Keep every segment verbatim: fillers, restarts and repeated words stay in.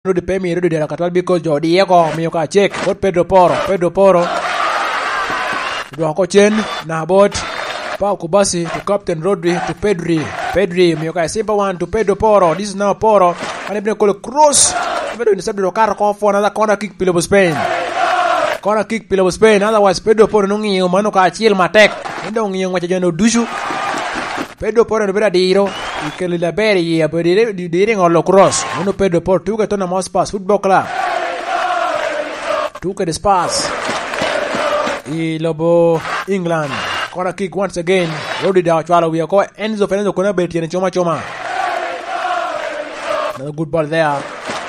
Rodi pe mio Rodi dero katwal because jo odiye oko, mio ka cek bot Pedro Poro, Pedro Poro. Dwoko cen, na bot Pau Kubasi to Captain Rodri to Pedri. Pedri, mio ka simple one to Pedro Poro. This is now Poro. An ibino kolo cross. Ibino ni sabdo kato ko for another corner kick pi lobo Spain. Corner kick pi lobo Spain. Otherwise, Pedro Poro nong'iyo mano ka acil matek. En dong ong'iyo ngwec a jo-nu ducu. Pedro Poro en obedo adiro, i kelo i aber iye, abedo dire, dire i ŋolo cross. Mano Pedro Poro, tuke Tottenham Hotspur Football Club. Tuke de Spurs. I lobo England. Corner kick once again. Rodri daŋ ocwalo wie oko. Enzo Fernandez kono abedo tyene coma coma. Another good ball there.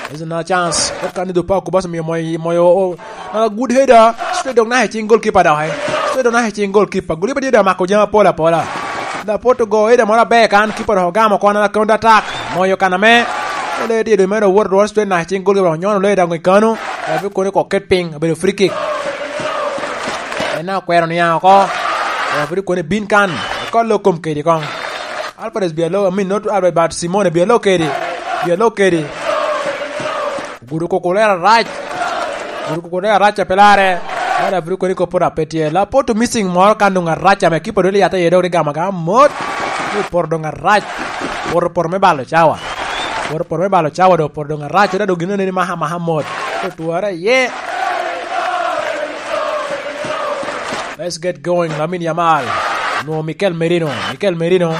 There's another chance. What can he do? Pau Kubasi mio moyo, moyo, oh, another good header. Straight dong na i cing goalkeeper dok, eh. Straight dong na i cing goalkeeper. Goalkeeper tye dok mako jami apol apola. Laporte ogo header moro aber kan, keeper dok ogamo kono na counter attack. Moyo kan ame. Ole tye dong mere owot rwot straight na i cing goalkeeper dok nyono ole dok i kano. Referee kono ko ket piny, obedo free kick. En na okwero niaŋ oko. Referee kono bin kan. Kolo kom kedi kong. Alvarez bia lo, I mean, not Alvarez, but Simone bia lo kedi. Bia lo kedi. Gudo Cucurella arac. Gudo Cucurella arac a pe larre. Mara biro koni ko poto ape tye. Laporte missing moro kan dong arac ame kipa dong yata iye dong rigamo agama mot. Ni poto dong arac. Poto, poto me balo cawa. Poto, poto me balo cawa dong poto dong arac. Oda dong gino ni maha maha mot. Otwara iye. Let's get going. Lamine Yamal. Nwo Mikel Merino. Mikel Merino.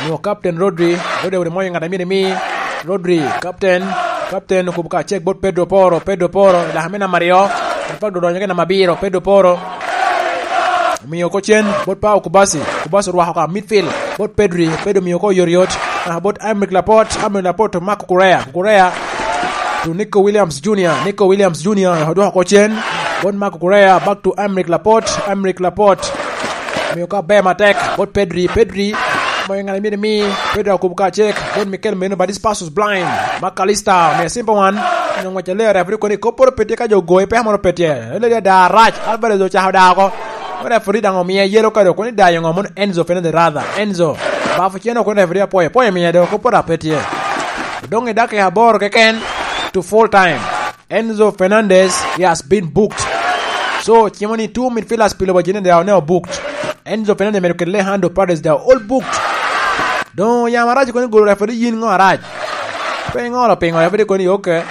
Nwo Captain Rodri. Rodri ori moyo ŋat a myero imi. Rodri, Captain. Captain okubo ka cek bot Pedro Poro. Pedro Poro, laka me namba aryo. Pedro donyo ki namba abiro. Pedro Poro. Omiyo oko cen bot Pau Kubasi. Kubasi orwako ka midfield bot Pedri. Pedri omiyo oko oyotyot. Ah, bot Aymeric Laporte. Aymeric Laporte to Marc Cucurella. Cucurella to Nico Williams Junior. Nico Williams Junior odwoko oko cen. Bot Marc Cucurella, back to Aymeric Laporte. Aymeric Laporte. Omiyo ka ber matek bot Pedri. Pedri. Moyo ŋat a myero imi. Pedri okubo ka cek. Bot Mikel Merino, but this pass was blind. Mac Allister, omiyo simple one. Onyo ngwec aler, referee koni kop moro pe tye ka jo ogoye, pe moro pe tye. Ele ya da arac. Alvarez ocako da oko. Referee daŋ omiye yellow card, koni dayo ŋo mono Enzo Fernandez rather. Enzo. Bafo cen oko referee apwoyo. Apwoyo miye do, kop moro pe tye. Dong i dakika aboro keken to full time. Enzo Fernandez, he has been booked. So, cimo ni two midfielders pi lobo Argentina, they are now booked. Enzo Fernandez medo kede Alejandro Paredes, they are all booked. Dong yamo arac kono golo referee yin ŋo arac. Pe iŋolo pingo referee kono, okay.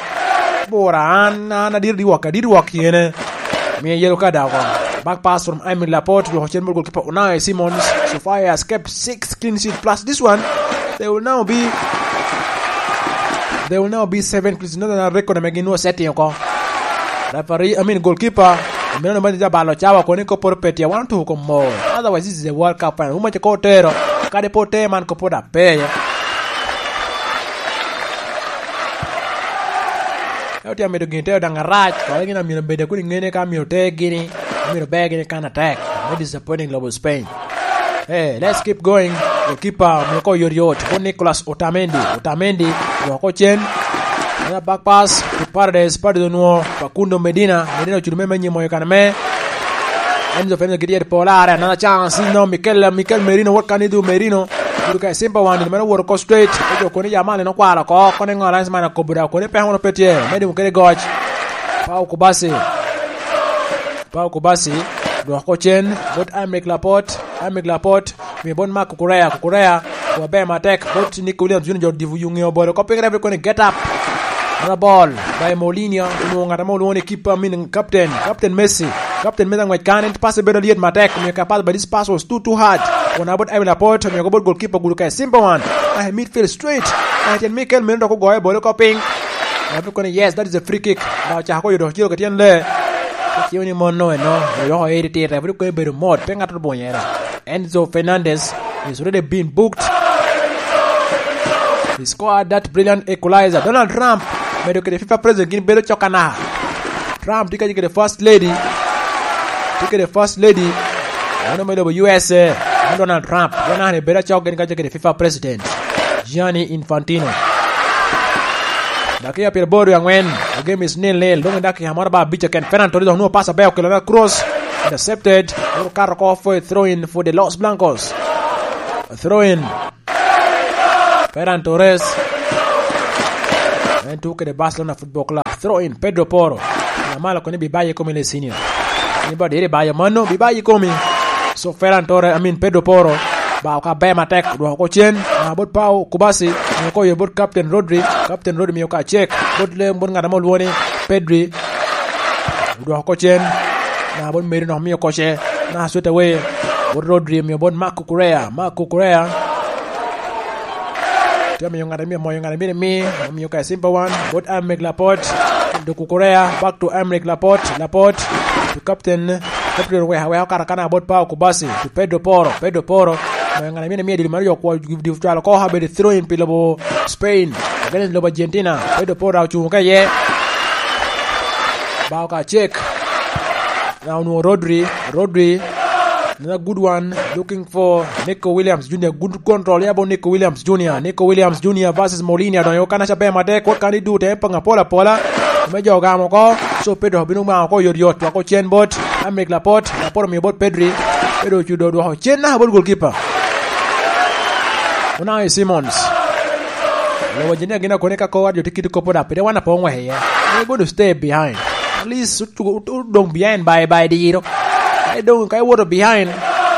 Bura an, an adiro di wok, adiro wok yene. Miye yellow card oko. Back pass from Aymeric Laporte, dwoko cen bot goalkeeper Unai Simons. So far he has kept six clean sheet plus this one. They will now be, they will now be seven clean sheet. Another record ame gin nwo setting oko. Referee, I mean goalkeeper. Meno no manager balo cawa koni ko poro petia. Wan tuko mo. Otherwise, this is a World Cup final. Uma ko tero. Kade po te man ko po da pe. Ka otye amito gin te odaŋ arac, kore gin amito bede kuni ŋene ka amito te gini, amito be gini kan atek. Very disappointing lobo Spain. Hey, let's keep going. Goalkeeper, mio ko yot yot. Ko Nicolas Otamendi. Otamendi, dwoko cen. Another back pass to Paredes. Paredes onwo Facundo Medina. Medina ocudo me menyi moyo kan me. Enzo Fernandez gidi yet pola are. Another chance. No, Mikel, Mikel Merino. What can he do, Merino? Gudo ka simple one. Meno woro ko straight. Ojo koni Yamal en okwalo ko. Koni ŋo lines man akobo da. Koni pe hono pe tye. Medi mukere goc. Pau Kubasi. Pau Kubasi, dwoko cen, bot Aymeric Laporte, Aymeric Laporte, mio bot Marc Cucurella, Cucurella, wa ber matek, bot Nico Williams Junior, jo dibu yuŋe obolo, ko piny referee koni get up. Another ball, by Mourinho, onwoŋo ŋat ame olwoŋo ni keeper, I mean, captain, captain Messi, captain Messi aŋwec kan, en pass bedo lyet matek, mio ka pass, but this pass was too, too hard. Won about Aymeric Laporte, mio ko bot goalkeeper, gudo ka simple one. Ah, midfield straight. Ah, tyen Mikel Merino dok ogoyo bolo ko piny. Referee koni, yes, that is a free kick. Da ocako ko yodo ciro ke tyen le. Kiciwo ni mon no eno, oyoko eri tir, referee koni bedo mot, pe ŋat otbonyo era. Enzo Fernandez is already been booked. He scored that brilliant equalizer. Donald Trump medo kede FIFA president gin bedo cok anaka. Trump tye kede first lady. Tye kede first lady. Mano me lobo U S A. Mano Donald Trump. Donald bedo cok gin kede FIFA president. Gianni Infantino. Dakika pyeraboro wiye angwen, the game is nil nil. Dong i dakika moro ba abic keken. Ferran Torres dok nwoŋo pass aber okelo me cross. Intercepted. Dok okato oko for a throw in for the Los Blancos. A throw in. Ferran Torres. En tuko kede Barcelona Football Club. Throw in, Pedro Porro. Amalo koni bi bayo i komi le senior. Ni ba diri bayo mano, bi bayo i komi. So Ferran Torres, I mean Pedro Porro. Ba ka ber matek, dwoko ko cen. Na bot Pau Kubasi, mio ko yo bot Captain Rodri. Captain Rodri mio ka cek. Bot le, bot ng'at ame olwongo ni Pedri. Dwoko ko cen. Na bot Merino mio ko ce. Na straight away. Bot Rodri mio bot Marco Correa. Marco Correa. Tye miyo ŋat a myero moyo ŋat a myero imi, omiyo ka Simba wan, bot Aymeric Laporte, to Kukurea, back to Aymeric Laporte, Laporte, to captain, captain weka, weka okato kana bot Pau Kubasi, to Pedro Porro, Pedro Porro, moyo ŋat a myero imi dilo mar jok kwo, dilo cwalo ko, abedo throw in pi lobo Spain, against lobo Argentina, Pedro Porro ocung ka iye. Bao ka cek. Now onwoŋo Rodri, Rodri, another good one, looking for Nico Williams Junior, good control, ya bo Nico Williams Junior, Nico Williams Junior versus Molina, donyo kan aca ber matek, kwot kan i dute, panga pola pola, me jo gamo oko, so Pedro bino gamo oko yot yot, wako cen bot, Aymeric Laporte, Laporte omiyo bot Pedri, Pedro ocudo dwoko cen naka bot goalkeeper. Unai Simons. Lobo Argentina gin akone ka kowa jo tye kit kop da, pire wan apo ŋwec iye. We're going to stay behind. At least, otugo, otugo dong behind by, by diro. Ka idong, ka iwoto behind,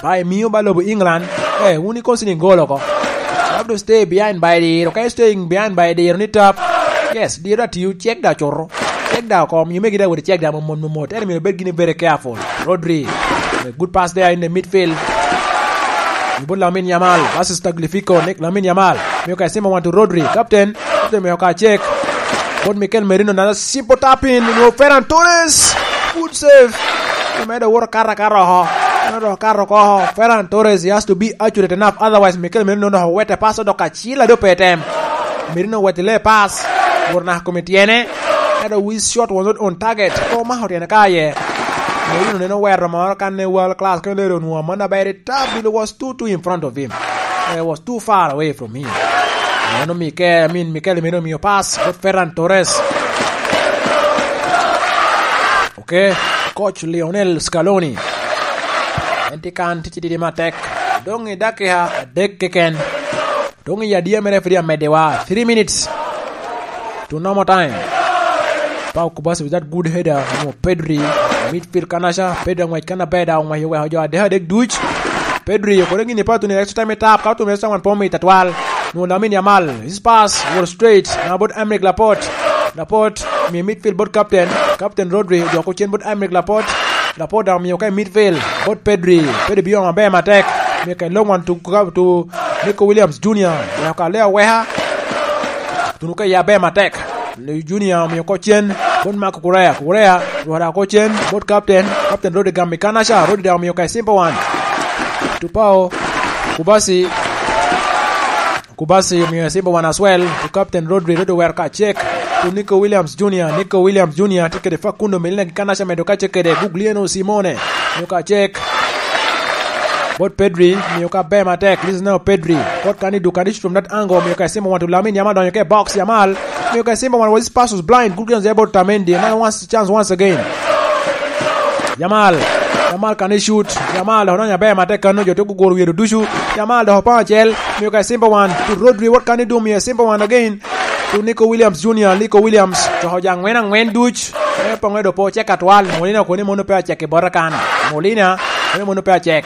by miyo ba lobo England, eh, wun ikono siling gol oko. You have to stay behind by diro. Ka i staying behind by diro ni tap, yes, diro atiyo, cek da cuto. Cek da oko, miyo megi da wot cek da mot, mot, mot. Ento myero ibed gini very careful. Rodri, a good pass there in the midfield. Ibot Lamine Yamal versus Tagliafico, Nick Lamine Yamal. Miyo ka Simba wan to Rodri, captain. Captain miyo ka cek. Bot Mikel Merino, another simple tap in. No, Ferran Torres. Good save. Omedo woro kara kara oho. Omedo kara oko oho. Ferran Torres, he has to be accurate enough. Otherwise, Mikel Merino no wete pass odok acil ado pe tem. Merino wete le pass. Woro na kome tyene. Ento his shot was not on target. Ko mako tyene ka aye. Merino neno wero moro kan ne world class. Kene lero nwa man aber. Tab, it was too, too in front of him. It was too far away from him. Mano Mikel, I mean, Mikel Merino miyo pass. But Ferran Torres. Okay. Coach Lionel Scaloni. En tye kan, tye titidi matek. Dong i dakika adek keken. Dong i adia mere pwod amedde wa. Three minutes to normal time. Pau Kubasi with that good header. Mo Pedri. Midfield kanaca. Pedri ang'wec kan aber da. Ong'wec oweko jo adek adek duc. Pedri okore gini pato ni extra time tap. Ka otum extra one point atwal. No, Lamine Yamal. His pass. Wor straight. Na bot Aymeric Laporte. Laporte. Mi midfield bot captain. Captain Rodri. Joko cen bot Aymeric Laporte. Laporte daŋ omiyo ka i midfield. Bot Pedri. Pedri biyo maber matek. Miyo ka i long one to, to Nico Williams Junior. Weko ka le aweka. Tuno ka ya ber matek. Junior omiyo ko cen. Bot Marco Correa. Correa. Rwada ko cen. Bot captain. Captain Rodri gam i kanaca. Rodri daŋ omiyo ka i simple one. Tupao. Kubasi. Kubasi omiyo i simple one as well. To captain Rodri. Rodri wer ka cek. To Nico Williams Junior. Nico Williams Junior. Tye kede Facundo Molina gi kanaca medo ka cek kede Guglielmo Simone. Miyo ka cek. Bot Pedri, miyo ka ber matek. This is now Pedri. Kot kani du kani shoot from that angle. Miyo ka Simba wan to Lamine Yamal donyo ke box. Yamal. Miyo ka Simba wan was pass was blind. Good chance about Tamendi. Another once chance once again. Yamal. Yamal kani shoot. Yamal dok donyo aber matek kano jo to guguro wiye ducu. Yamal dok opang acel. Miyo ka Simba wan to Rodri. What can he do? Miyo Simba wan again. To Nico Williams Junior. Nico Williams. To hoja angwen angwen duc. E pongo do po check atwal. Molina koni mono pe acek i bota kan. Molina. Mono mono pe acek.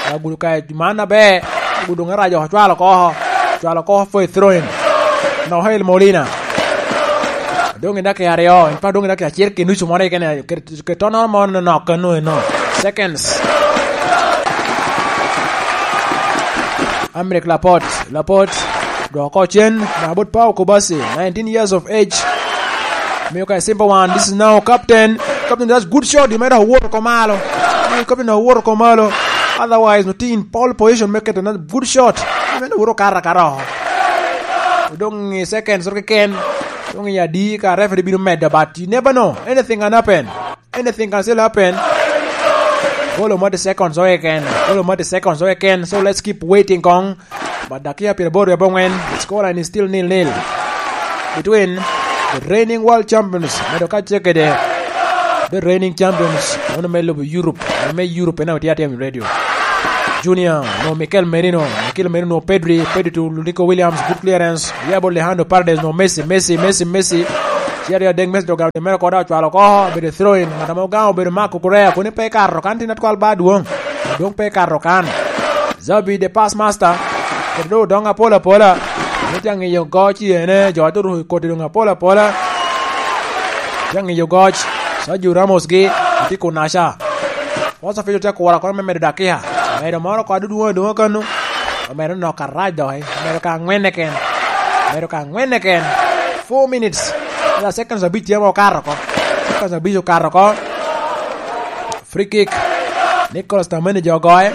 Agudo ka man aber. Agudo ŋarac oko cwalo oko. Cwalo oko for a throw in. Noel Molina. Dong i dakika aryo. In pa dong i dakika acel ki nucu moro kene. Ke, ke tono mo no no kano no. Seconds. Aymeric Laporte. Laporte. Dwoko cen. Mabot Pau Kubasi. Nineteen years of age. Miyo ka simple one. This is now captain. Captain, that's good shot. You made a work komalo. Captain, a work komalo. Otherwise, no team pole position make it another good shot. You made a work kara kara. Dong i seconds or ken. Dong i adi ka referee bino medo, but you never know. Anything can happen. Anything can still happen. Golo mot seconds o ken. Golo mot seconds o ken. So let's keep waiting kong. But dakia pyeraboro abongwen, scoreline is still nil nil between the reigning world champions, medo ka cek kede the reigning champions, ono me lobo Europe, me Europe, ena otye atem radio. Junior, no Mikel Merino, Mikel Merino, Pedri, Pedri to Nico Williams, good clearance, ya bot Alejandro Paredes, no Messi, Messi, Messi, Messi, ci aryo adek Messi doga mere koda ocwalo oko, obedo throw in, ngat ame ogaŋo obedo Marco Correa, koni pe ikato kan tin atwal ba adwoŋ, adwoŋ pe ikato kan. Zabi the pass master, kede doŋ odoŋ apol apola, ni tye aŋiyo goc i ene, jo ate ruko i koti doŋ apol apola, tye aŋiyo goc, Sergio Ramos gi, ati kunaca. Oso Fijo tye akura kono me medo dakiya. Omedo moro oko adudwoŋ adwoŋa kano. Omedo nok arac doki. Omedo ka aŋwen keken. Omedo ka aŋwen keken. Four minutes. Ela seconds abic tye ma okato oko. Seconds abic okato oko. Free kick. Nicolas Tamendi jo ogoye.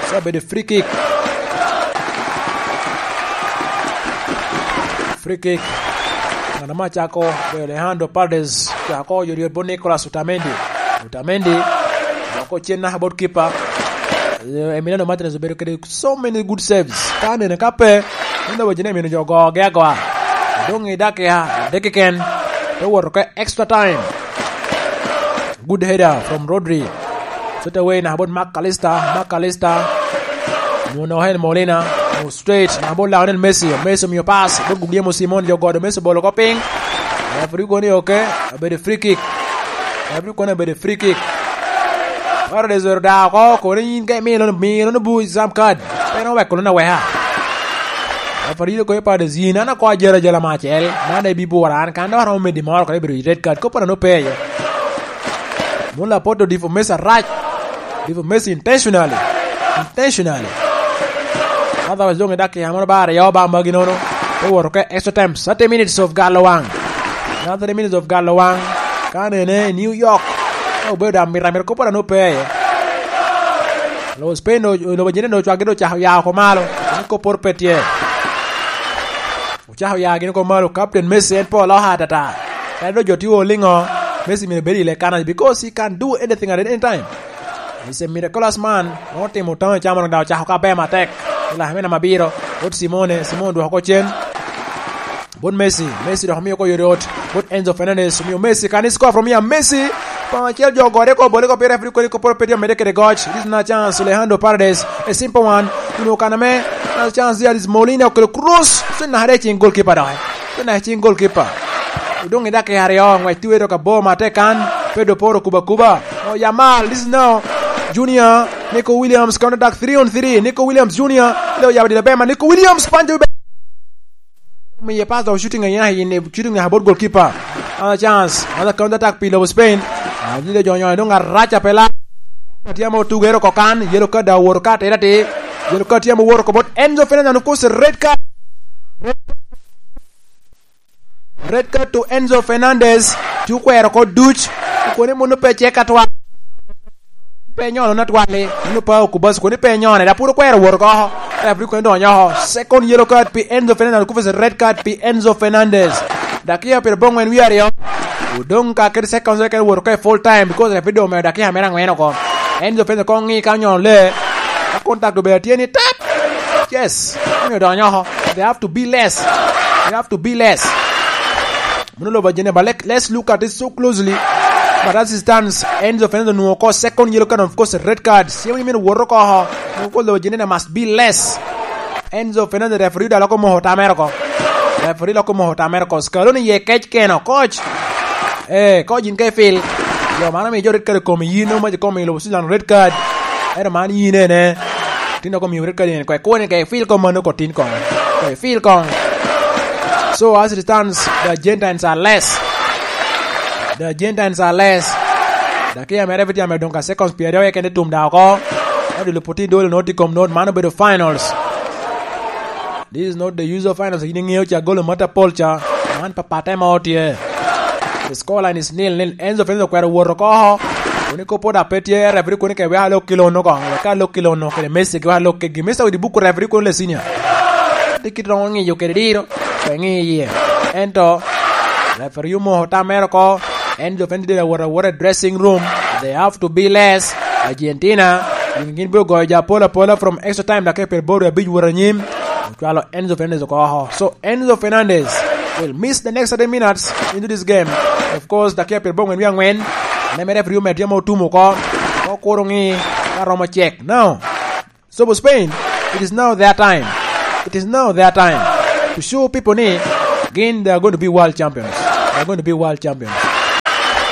So obedo free kick. Free kick. Ngat ame acako obedo Alejandro Paredes. Cako oyodyot bot Nicolas Otamendi. Otamendi. Dok ocen naka bot kipa. Eh, Emiliano Martinez obedo kede so many good saves. Ka nene ka pe, en doŋ wacci ni emino jo ogogi agoa. Doŋ i dakika adek keken, te woto oko extra time. Good header from Rodri. Straight away naka bot Mac Allister. Mac Allister. Nwoŋo Noel Molina. Nwoŋo straight naka bot Lionel Messi. Messi omio pass. Bot Guglielmo Simon jo godo Messi obolo oko piny. Referee kono ni oke. Obedo free kick. Abino kono obedo free kick. Paredes ero da oko, kono in ka imio lono, mio lono bu exam card. Pe en oweko lono aweka. Referee kono Paredes yin, an akoa jalo ajala me acel. Man daŋ ibibwora an, kan dok aromo medi moro kono ibiro red card. Kop anano pe iye. Mula Poto defo Messi arac. Defo Messi intentionally. Intentionally. Otherwise, doŋ i dakika mono ba aryo ba magi nono. Te woto ke extra time, thirty minutes of galo waŋ. Now thirty minutes of galo waŋ. Ka nene i New York. Ka obedo da mita mita kop anano pe iye. Lobo Spain do, lobo Argentina do ocwagi do ocako ya oko malo. Ni kop poro pe tye. Ocako ya gin oko malo. Captain Messi en pe oloka atata. Kadi do jo tye oliŋo. Messi myero bed i lekana because he can do anything at any time. He's a miraculous man. Otimo taŋo i camo daŋ ocako ka ber matek. I lakmina mabiro. Bot Simone, Simone dwoko oko cen. Bot Messi, Messi dok omio oko yot yot. Bot Enzo Fernandez, omio Messi kan i score from here. Messi, pa acel jo ogore ko bole ko pire Afrika ko poro pe tye omedde kede goc. This na chance, Alejandro Paredes, a simple one. Kuno kan ame, na chance there is Molina okelo cross. So na hare cing goalkeeper dok. So na cing goalkeeper. Odong i dakika aryo, ngwec tye wero ka bor matek kan. Pedro Porro kuba kuba. Oh, Yamal, this is now. Junior, Nico Williams, counter attack three on three. Nico Williams Junior, leo yabo dilo bema. Nico Williams, panjo be. Miye pass dok shooting aye, aye, shooting aye bot goalkeeper. Another chance, another counter attack pi lobo Spain. Ah, dilo jo nyo, dong araca pela. Atye amo tugero kokan, yellow card da woro ka tera ti. Yellow card tye amo woro ko bot Enzo Fernandez, of course, red card. Red card to Enzo Fernandez. Ti okwero oko duc. Koni muno pe cek atwal. Pe nyono na twali. Muno pa okubas koni pe nyone. Da puro kwero woro oko. Referee koni donyo oko. Second yellow card pi Enzo Fernandez. Kufes red card pi Enzo Fernandez. Dakiya pire bongwen wi aryo. Odong ka kede second second woro oko e full time because referee dong omeo dakiya mere angwen oko. Enzo Fernandez kong ngi ka nyono le. Ka contact obedo atye ni tap. Yes. Omio donyo oko. They have to be less. They have to be less. Muno lobo ajene, but let, let's look at it so closely. But as it stands, Enzo Fernandez onwoŋo oko second yellow card, of course, red card. Siemo ni meno woto oko. Of course, lobo ajene must be less. Enzo Fernandez referee da loko moko tamere oko. Referee loko moko tamere oko. Scaloni ye kec keno, coach. Eh, coach in ka ifil. Yo mano mi jo red card kom yin, omaji kom i lobo Switzerland red card. Ero man yin ene. Tin dok omiyo red card in kwe kone ke feel kong mano ko tin kong. Ke feel kong. So as it stands, the Argentines are less. The Argentines are less. Dakiya mere piti ame dong ka seconds pyeraryo keken tum da oko. Odilo puti dolo noti kom not mano bedo finals. This is not the usual finals. Yin iŋeo ca golo mata pol ca. Man papate ma otye. The score line is nil nil. Enzo Fernandez okwero wot oko. Koni kopo da pe tye referee koni ke wek alok ki lono kong. Wek alok ki lono kede Messi ki wek alok kegi. Messi odi buku referee koni le senior. Ti kit roŋo ŋiyo kede diro. Pe ŋi iye. Ento referee omoko tam mere oko. Enzo Fernandez dira wot awota i dressing room. They have to be less. Argentina. Gin gin biro goyo ja apola apola from extra time dok e pyer boro abic wot anyim. Ocwalo Enzo Fernandez oko oko. So Enzo Fernandez will miss the next thirty minutes into this game. Of course, dakiya pyer bongwen wi angwen. Neme referee omedo tye ma otum oko. Okuro ŋi ka romo cek. Now, So for Spain, it is now their time. It is now their time to show people ni gin they are going to be world champions. They are going to be world champions.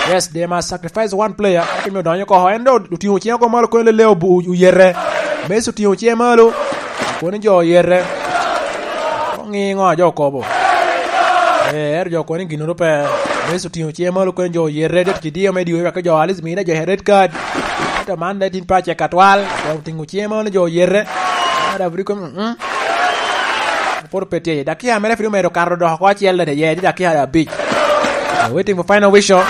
Yes, they must sacrifice one player. Kimi odonyo oko, en do otingo cinge oko malo, kono lele obu-, oyete. Messi otingo cinge malo, kono jo oyete. Oŋiŋo a jo okobo? Eh, ero jo kono gin pe. Messi otingo cinge malo, kono jo oyete. Dek ci diyo me diyo, wek jo alis mine jo red card. Ento man daŋ tin pa cek atwal. Dok otingo cinge malo ni jo oyete. Ado abri kono, mm. Poro pe tye. Dakia mere pwod omedo kato dok oko acel dede, ye, tye dakia abic. We're waiting for final whistle.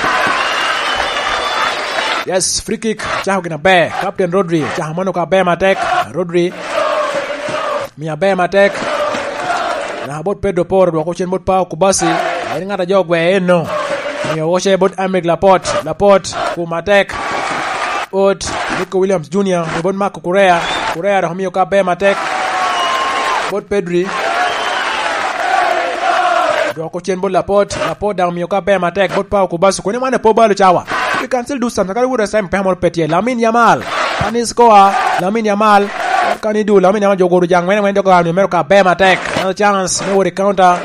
Yes, free kick. Cako gin aber. Captain Rodri. Cako mano ka aber matek. Rodri. Miyo aber matek. Naka bot Pedro Porro, dwoko cen bot Pau Kubasi. En ŋat a jo ogweo eno. Miyo oce bot Aymeric Laporte. Laporte, kum atek. Ot, Nico Williams Junior, bot Marc Cucurella. Cucurella dok omiyo ka aber matek. Bot Pedri. Dwoko cen bot Laporte. Laporte daŋ omiyo ka aber matek. Bot Pau Kubasi. Koni mane po balo cawa. You can still do something. Kadi wuro time peko moro pe tye. Lamine Yamal. Ani score. Lamine Yamal. Kani du, Lamine Yamal jo goro jaŋ ŋwen ŋwen jo goro mere ka aber matek. Another chance. Me wot i counter.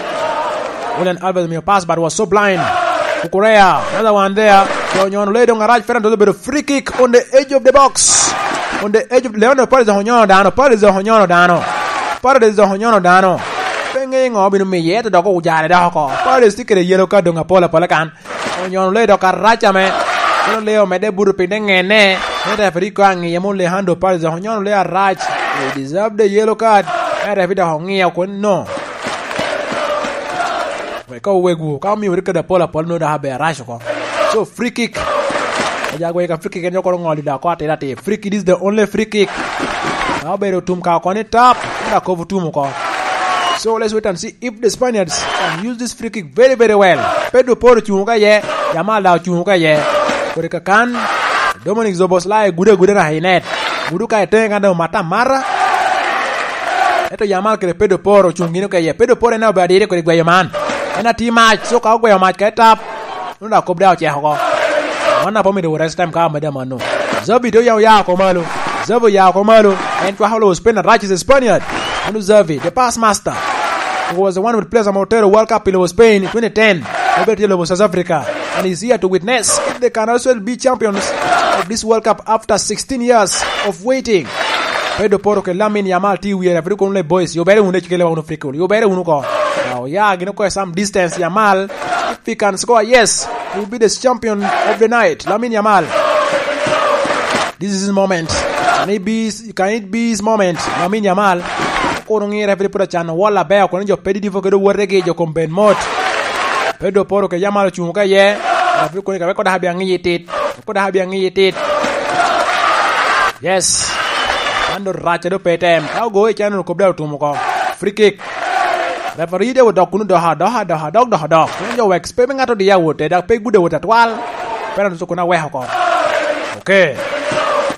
Julian Alvarez omiyo pass, but was so blind. Cucurella, another one there. Jo onyono le dong arac, Ferran Torres obedo free kick on the edge of the box. On the edge of, Leandro Paredes dok onyono dano, Paredes dok onyono dano. Paredes dok onyono dano. Pe ŋe ŋo bino miye, ento dok ojare dok oko. Paredes tye kede yellow card dong apol apol kan. Onyono le dok arac ame. Kono le omedde buto piny te ŋenne. Ento referee ko aŋiye mo Leandro Paredes dok onyono le arac. He deserve the yellow card. Ento referee dok oŋiyo kun no. Wek ka owegwu, ka omiyo red card apol apol, nwoŋo dok abe arac oko. So, free kick. Ojagwe ka free kick en yo kono ŋolo dok oko atir atir. Free kick, this is the only free kick. Ka obedo otum ka oko ni tap, ka kobo otum oko. So, let's wait and see if the Spaniards can use this free kick very, very well. Pedro Porro ocuŋ ka ye, Yamal daŋ ocuŋ ka ye. Kodi kakan, Dominic Szoboszlai gudo aguda naka i net. Gudo ka i teŋe kan dong omata amata. Ento Yamal kede Pedro Porro ocuŋ gino keye. Pedro Porro en aye obedo adiri kodi gweyo man. En atye mac, so ka ogweyo mac ka etap, nwoŋo dok kop daŋ oceko oko. Wan daŋ pe omido rest time ka amedde amanno. Xavi te oya, oya oko malo. Xavi oya oko malo. En cwako lobo Spain arac is a Spaniard. Mano Xavi, the past master. He was the one with players ame otero World Cup i lobo Spain i twenty ten. Obedo tye i lobo South Africa. And he's here to witness if they can also be champions of this World Cup after sixteen years of waiting. Pedro Porro kede Lamine Yamal tye i wiye, referee kono le, "Boys, yubere wunu, ecikele wunu free kick. Yubere wunu oko." Now, yeah, gin oko some distance, Yamal. If he can score, yes, he will be the champion of the night. Lamine Yamal. This is his moment. Can it be, can it be his moment? Lamine Yamal. Kono ŋi referee pwod acano wall aber, kono jo pedi dipo kede wotegi, jo kom ben mot. Pedro Porro kede Yamal ocuŋ ka ye. Referee kono ka weko dok abia ŋiyi tit. Weko dok abia ŋiyi tit. Yes. Man do rac a do pe tem. Ka ogo i cano kop dok otum oko. Free kick. Referee de odok kunu doha, doha, doha, dok, doha, dok. Kunu jo wek pe ŋat odiya wote, dak pe gude wote atwal. Pera nusu kuna weko oko. Okay.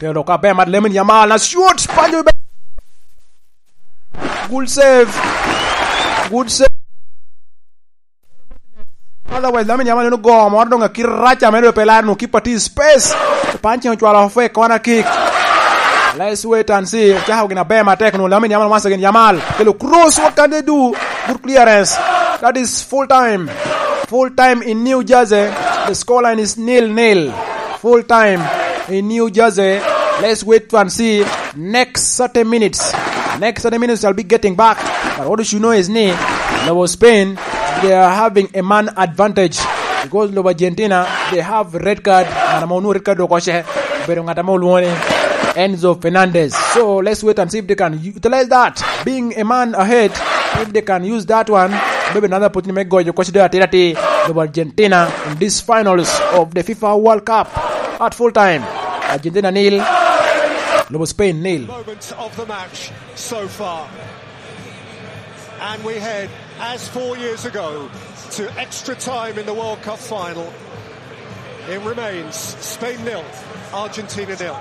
Telo ka be mat Lamine Yamal na shoot. Panjo be. Good save. Good save. Otherwise, Lamine Yamal neno go moro dong akit rac ame dong pe laro nwoŋo keeper tye i space. Panching ocwalo off a corner kick. Let's wait and see. Cako gin aber matek nwoŋo Lamine Yamal once again. Yamal kelo cross, what can they do? Good clearance. That is full time. Full time in New Jersey. The scoreline is nil nil. Full time in New Jersey. Let's wait and see next thirty minutes. Next thirty minutes, I'll be getting back. But what you should know is ni, lobo Spain, they are having a man advantage. Because lobo Argentina, they have red card, and I'm on red card, okoce. Pero ŋat ame olwoŋo ni Enzo Fernandez. So let's wait and see if they can utilize that. Being a man ahead, if they can use that one, maybe another opportunity may go, okoce do atira ti, lobo Argentina in these finals of the FIFA World Cup. At full time, Argentina nil, lobo Spain nil. Moment of the match so far. And we head, as four years ago, to extra time in the World Cup final. It remains Spain nil, Argentina nil.